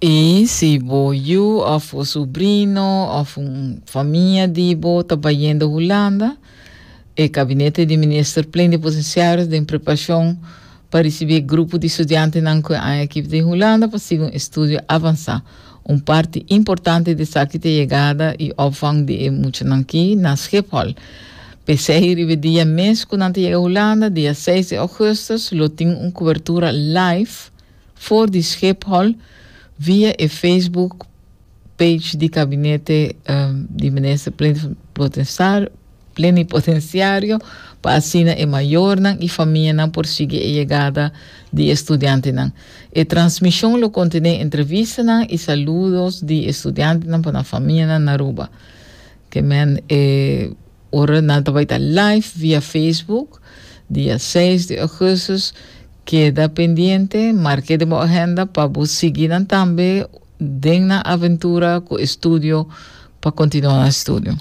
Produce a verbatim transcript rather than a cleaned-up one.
I si bo yu òf bo subrino òf un famia di bo ta bayendo Hulanda, e gabinete di minister plenipotensiario den preparashon pa risibí grupo di studiantenan ku aki di Hulanda pa sigui un estudio avansá. Un parti importante di esaki ta yegada i opvang di muchanan aki na Schiphol. P'esei riba dia mes ku nan yega Hulanda, dia seis di ougùstùs, lo tin un kobertura live for di Schiphol via e Facebook page di gabinete um, di minister plenipotensiario pa asina e mayornan i famianan por sigui e yegada di studiantenan. E transmishon lo kontené entrevistanan i saludo di studiantenan pa e famianan na Aruba. Ke men eh, ora nan bai ta live via Facebook dia seis di ougùstùs. Keda pendiente, marka den agenda pa sigui tambe den aventura ku estudio pa kontinuá estudio.